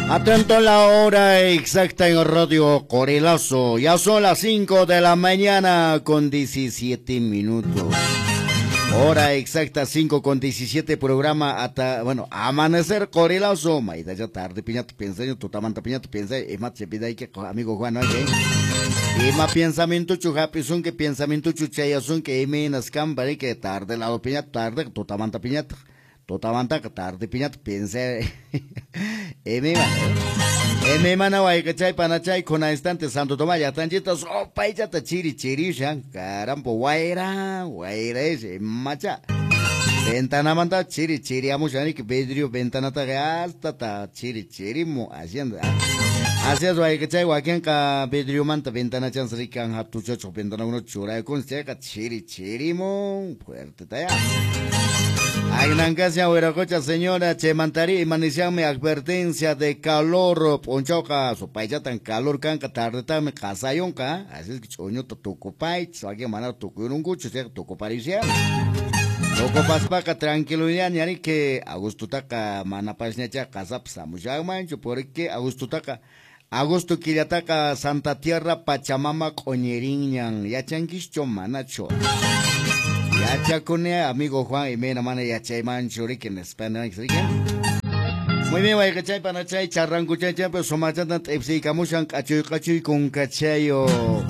Atento la hora exacta en Radio Corelazo. Ya son las 5 de la mañana con 17 minutos. Hora exacta 5 con 17, programa hasta, bueno, amanecer Corelazo. Maida ya tarde piñato piensa, tutamanta piñato piensa, y pide que amigo Juan, ¿no? Ima pensamiento chu hapisunki, pensamiento chu chayasunki, imaynas kan que tarde lado piñato, tarde tutamanta piñato. Tutamanta tarde piñato piensa. Eme mana wayqachay panachay kuna instante Santo Tomás llaqtanchita sopaychata chiri chirishan, carampo wayra wayra ese macha ventanamanta chiri chiriamushan vidrio ventanata hasta ta chiri chirimu haciendo así es wayqachay wakinqa vidriomanta ventanachan rikan hatuchachuq ventanakuna churaykun chayqa chiri chirimun fuerte taya. Agnancasya huiracocha señora Chemantari imanisianmi advertencia de calor ponchauqa supaychatan calor kanqa tardetami qasayunqa, así es que ch'uñuta tukupaychis wakin mana tukuyunkuchu chayqa tukuparisian tukupaspaqa tranquiloña ñariki agostutaqa manapasñacha qasapas hamushanmanchu porque agostutaqa agosto killataqa Santa Tierra Pachamama q'uñirinñan yachankischu manachu. Yachakune amigo Juan y mena mana yachaymanchu riki nispa riki. Muy bien, wayqachay panachay charrankuchay pero sumachatan t'ipsiykamushan k'achuy k'achuy kunkachayo.